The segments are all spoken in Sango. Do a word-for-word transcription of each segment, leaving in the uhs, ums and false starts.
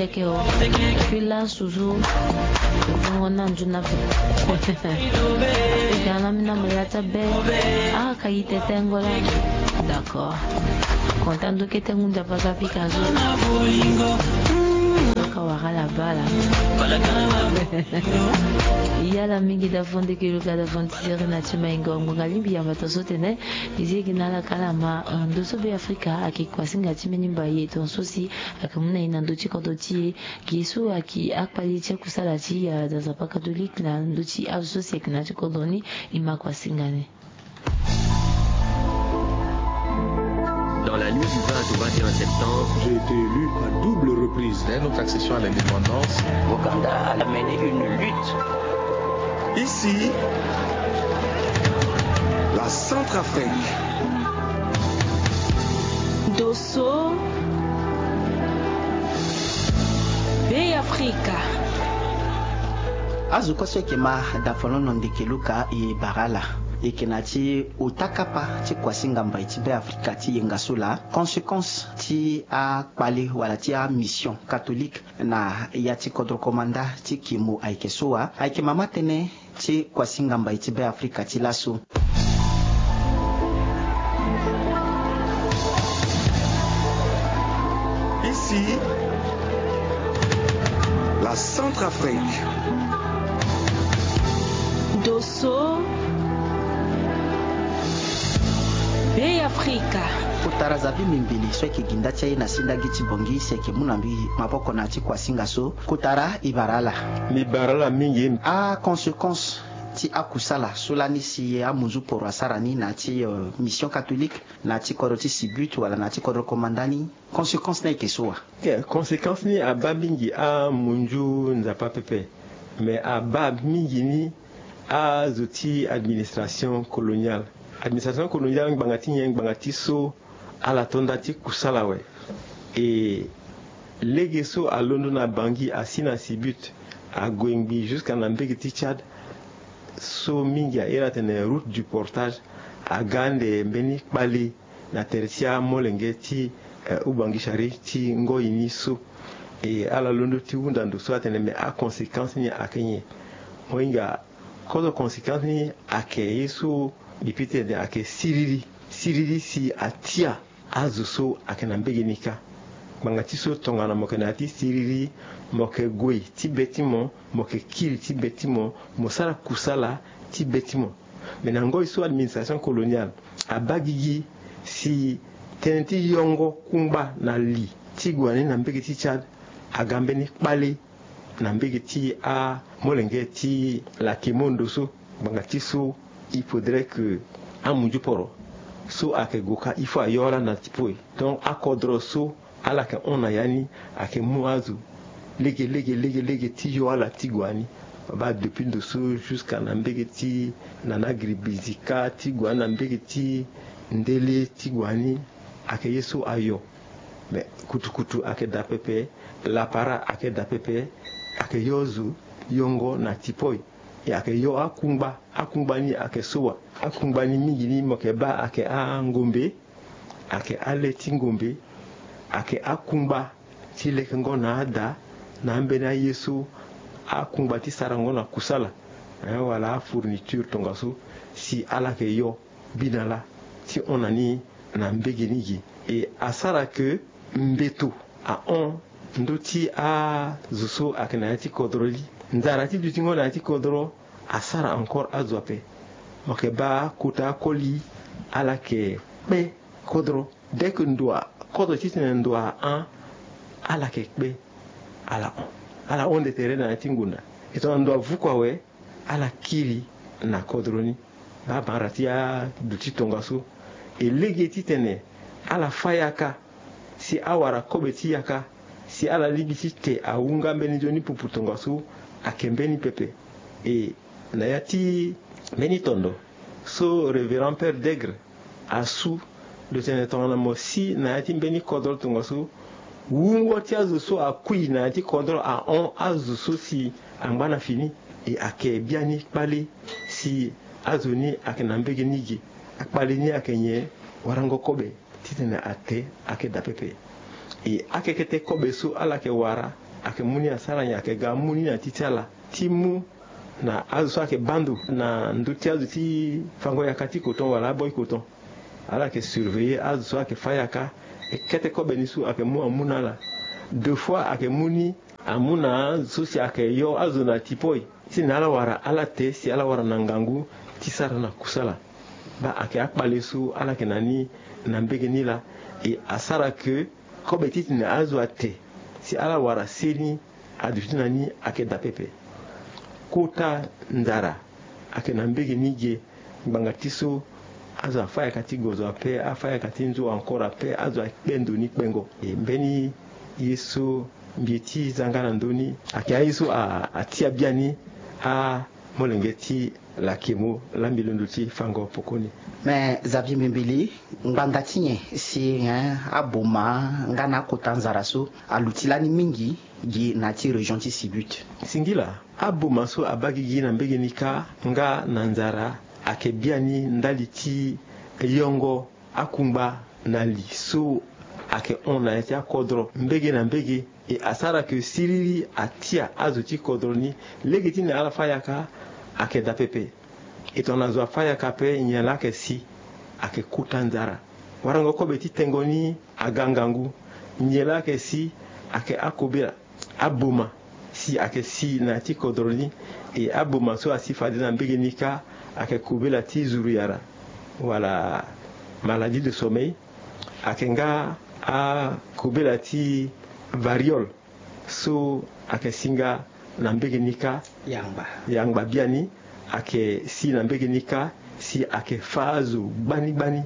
Eke o. Puis lasu so, bongo na nzuna pe. Eke ana mi na mo ya ti abe. Ah, ka yi tete ngo la. D'accord. Kontan ndo kete ngu nzapa ka pika zo. Ka wara la bala. Yala mingi da fondeke luka da fondi seri na ti maingo. Ngonga lingbi yamba ton so tene. Izi eke na ala kala ma, eh, ndo so Be Afrika ake kuasinga ti mbeni mbai ye ton so si ake mu na ye na ndö ti kodro ti e. Ge so ayeke akpali ti akusala ti, eh, da nzapa katolike na ndö ti azo so si ayeke na ya ti kodro ni, e ma kuasinga ni. Dans la nuit du vingt au vingt et un septembre, j'ai été élu à double reprise. Dès notre accession à l'indépendance, Ouganda a mené une lutte. Ici, la Centrafrique. Dosso. Be Afrika. Azo kue so eke ma da folono ndeke luka e bara ala. Eke na ti ota kapa ti kuasinga mbai ti Be Afrika ti yenga so laa. Conséquence ti akpale wala ti amission catholique na ya ti kodro komanda ti Kimo ayeke so wa. Ayeke mama tënë ti kuasinga mbai ti Be Afrika ti laso. Ici, la Centrafrique. Dosso. Be Afrika. Kotara Zabi Mimbili so ayeke gi nda ti aye na sindagi ti Bongi si ayeke mu na mbi maboko na ya ti kuasinga so. Kotara, e bara ala. Mbi bara ala mingi. Aconséquence ti akusala so lani si amunzu poro asara ni na ya ti, euh, mission catholique, na ya ti kodro ti Sibut wala na ya ti kodro komanda ni, conséquence ni ayeke so wa? Ok, conséquence ni abaa mingi amunzu nzapa pepe. Mais abaa mingi ni azo ti administration coloniale. Administration coloniale ngbanga ti nyen? Ngbanga ti so ala to nda ti kusala awe. E lege so alondo na Bangui asi na Sibut, ague ngbii jusqu'à na mbege ti Tchad. So mingi airi atene route du portage, aga ande mbeni kpale na tere ti amolenge ti, eh, Ubangui Chari ti ngoi ni so. E ala londo ti hunda ndo so atene me aconséquence ni ayeke nyen? Mo hinga kozo conséquence ni ayeke ye so mbi pite tene ayeke siriri. Siriri si atia azo so ayeke na mbege ni kâ. Ngbanga ti so tongana mo yeke na ya ti siriri, mo yeke gue ti be ti mo, mo yeke kiri ti be ti mo, mo sara kusala ti be ti mo. Me na ngoi so administration coloniale abaa gigi si tënë ti yongo kungba na li ti gue wani na mbege ti Tchad aga mbeni kpale na mbege ti amolenge ti la Kimondo so. Ngbanga ti so il faudrait que amunzu poro so ayeke gue kâ il faut ayo ala na ti po e. Donc akodro so ala yeke hon na ya ni ayeke mu azo lege lege lege lege ti yo ala ti gue wani. Baa depuis ndo so jusqu'à na mbege ti nana giribizika ti gue wani na mbege ti ndele ti gue wani ayeke ye so ayo. Mais kutukutu ayeke daa pepe, lapara ayeke daa pepe. Ayeke yo zo yongo na ti po e. E ayeke yo akungba, akungba ni ayeke so wa? Akungba ni mingi ni mo yeke baa ayeke angombe, ayeke ale ti ngombe, ayeke akungba ti lekengo na ada na ambeni aye so akungba ti sarango na kusala, eh, wala afourniture tongaso si ala yeke yo. Bi na lâ ti hon na ni na mbege ni gi. E asara ke mbeto ahon ndö ti azo so ayeke na ya ti kodro li. Nzara ti dutingo na ya ti kodro asara encore azo ape. Mo yeke baa kota akoli ala yeke kpe kodro. Dès que ndo a kodro titene ndo ahon, ala yeke kpe, ala hon. Ala hon nde tere na ya ti ngonda. E tongana ndo avuku awe, ala kiri na kodro ni. Baa banra ti aduti tongaso. E lege titene ala fâ yaka si awara kobe ti yaka, si ala lingbi ti te ahunga mbeni nzoni pupu tongaso, ayeke mbeni pepe. E na ya ti mbeni tondo so Révérend Père Degre asu lo tene tongana mo si na ya ti mbeni kodro tongaso, wungo ti azo so akui na ya ti kodro ahon azo so si angba na fini. E ayeke biani kpale si azo ni ayeke na mbege ni ge. Akpale ni ayeke nyen? Warango kobe titene ate ayeke daa pepe. E akekete kobe so ala yeke wara Ayeke mu ni asara nyen? Ayeke ga amu ni na ti ti ala ti mu na azo so ayeke baa ndo na ndö ti azo ti fango yaka ti koton wala aboi koton. Ala yeke surveiller azo so ayeke fâ yaka. E kete kobe ni so ayeke mu amu na ala. Deux fois ayeke mu ni amu na azo so si ayeke yo azo na tipoi. Ti na ala wara ala te si ala wara na ngangu ti sara na kusala. Baa ayeke akpale so ala yeke na ni na mbege ni laa. E asara ke kobe titene azo ate si ala wara seni aduti na ni ayeke daa pepe. Kota nzara ayeke na mbege ni ge. Ngbanga ti so azo afâ yaka ti gozo ape, afâ yaka ti nzo encore ape, azo akpe ndo ni kpengo. E mbeni ye so mbi ye ti za nga na ndö ni ayeke aye so a- atia biani amolenge ti lakemo laa mbi londo ti fango pokoni. Me Xavier Mbimbili, ngbanga ti nyen si eh, aboma nga na akota nzara so aluti lani mingi gi na ya ti région ti Sibut? Singila, aboma so abaa gigi na mbege ni kâ nga na nzara ayeke biani ndali ti yongo akungba na li so ayeke hon na ya ti akodro mbege na mbege. E asara ke siriri atia azo ti kodro ni lege ti na ala fâ yaka ayeke daa pepe. E tongana zo afâ yaka ape nyen laa ayeke si? Ayeke kota nzara. Warango kobe ti tengo ni aga ngangu. Nyen laa ayeke si? Ayeke akobela. Aboma si ayeke si na ya ti kodro ni. E aboma so asi fade na mbege ni kâ ayeke kobela ti zuru yara wala maladie de sommeil. Ayeke nga akobela ti variole so ayeke si nga na mbege ni kâ. Yangba. Yangba biani ayeke si na mbege ni kâ si ayeke fâ azo gbani gbani.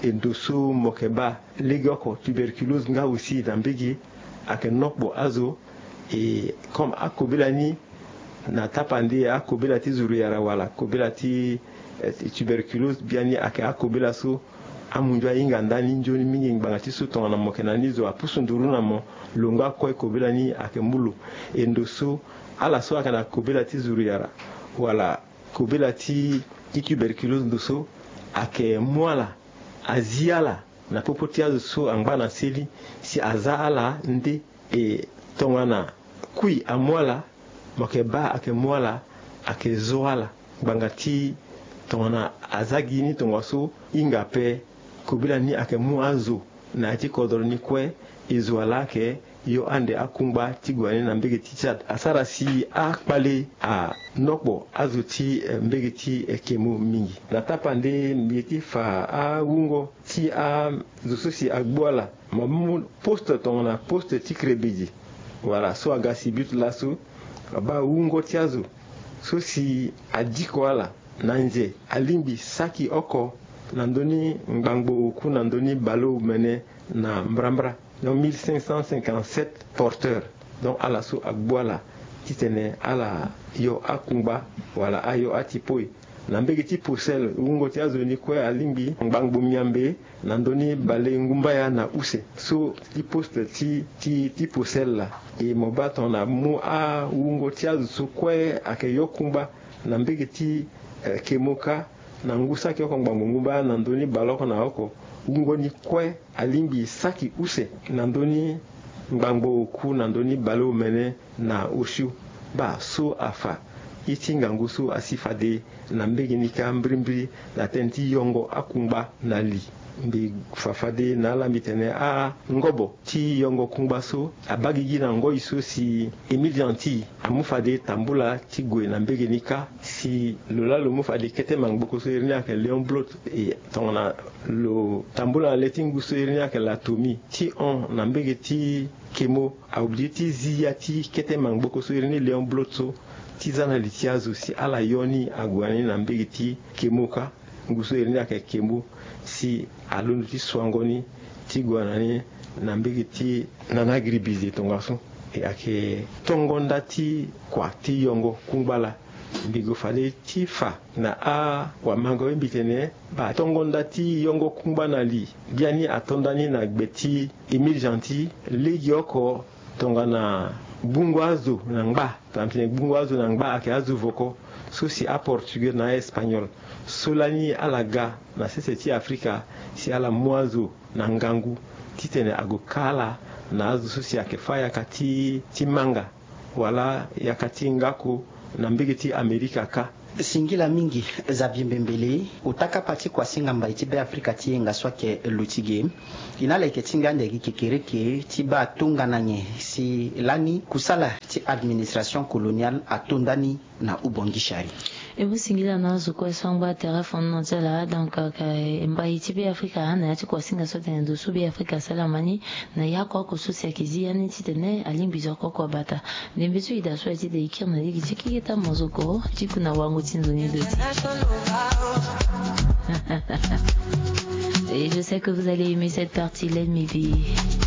E ndo so mo yeke baa legeoko tuberculose nga aussi na mbege ayeke nokpo azo. E comme akobela ni na tapande akobela ti zuru yara wala kobela ti eh, tuberculose biani ayeke akobela so amunzu ahinga ndani nzoni mingi ngbanga ti so tongana mo yeke na ni zo apusu nduru na mo. Lo nga kue kobela ni ayeke mu lo. E ndo so ala so ayeke na kobela ti zuru yara wala kobela ti ti tuberculose ndo so ayeke mu ala, azi ala na popo ti azo so angba na seli si aza ala nde. E tongana kui amu ala, mo yeke baa ayeke mu ala, ayeke zo ala ngbanga ti tongana aza gi ni tongaso. Hinga ape kobela ni ayeke mu azo na ya ti kodro ni kue. E zo ala ayeke yo ande akungba ti gue na ni na mbege ti Tchad asara si akpale anokpo azo ti eh, mbege ti eh, kemo mingi. Na tapande mbi ye ti fa awungo ti azo so si agbu ala. Mo mu poste tongana poste ti krebedi wala so aga Sibut laso. Abaa wungo ti azo so si adiko ala na nze alingbi saki oko na ndö ni ngbangbo oku na ndö ni baleomene na mbrambra. Donc mille cinq cent cinquante-sept porteurs. Donc ala so agbu ala titene ala yo akungba wala ayo atipoi. Na mbege ti Posel wungo ti azo ni kue alingbi ngbangbo miambe na ndö ni baleungumbaya na use so ti poste ti ti ti Posel laa. E mo baa tongana amu awungo ti azo so kue ayeke yo kungba na mbege ti eh, kemo kâ na ngu saki oko ngbangbo ngumbaya na ndö ni baleoko na oko. Wungo ni kue alingbi saki use na ndö ni ngbangbo oku na ndö ni baleomene na osio. Baa so afa ye ti ngangu so asi fade na mbege ni kâ mbirimbiri na tënë ti yongo akungba na li. Mbi fa fade na ala mbi tene angobo ti yongo kungba so abaa gigi na ngoi so si Émile Gentille amu fade tambula ti gue na mbege ni kâ si lo laa lo mu fade kete mangboko so iri ni ayeke Léon Blot. E tongana lo tambula na le ti ngu so iri ni ayeke Latomi ti hon na mbege ti kemo aobligé ti zi ya ti kete mangboko so iri ni Léon Blot so ti za na li ti azo si ala yo ni ague na ni na mbege ti kemo kâ. Ngu so iri ni ayeke kemo si alondo ti suango ni ti gue na ni na mbege ti nana agribize tongaso. E ayeke tongo nda ti kua ti yongo kungba laa. Mbi gue fade ti fa na awamango ye mbi tene baa tongo nda ti yongo kungba na li biani ato ndani na gbe ti Émile Gentille legeoko. Tongana gbungo azo na ngba tongana tene gbungo azo na ngba ayeke azo voko so si aportugais na aespagnol so lani ala ga na sese ti Afrika si ala mu azo na ngangu titene ague kâ ala Na azo so si ayeke fâ yaka ti manga wala yaka ti ngaku na mbege ti amerika kâ. Singila mingi. Xavier Mbembele, ota kapa ti kuasinga mbai ti Beafrika ti yenga so ayeke luti ge. E na ala yeke tingbi ande gi kekereke ti baa tongana nyen si lani kusala ti administration coloniale ato ndani na hubongishari. E mu singila na azo kue so angba tere fondement ti ala donc, mbai ti Beafrika na ya ti kuasinga so atene ndo so Beafrika asalama ni na ya oko oko so si ayeke zi ya ni titene alingbi zo oko oko abata. Ndembe so e daa so aye ti da e kiri na lege ti keketa mozoko ti ku na wango ti nzoni do ti. Et je sais que vous allez aimer cette partie, let me be.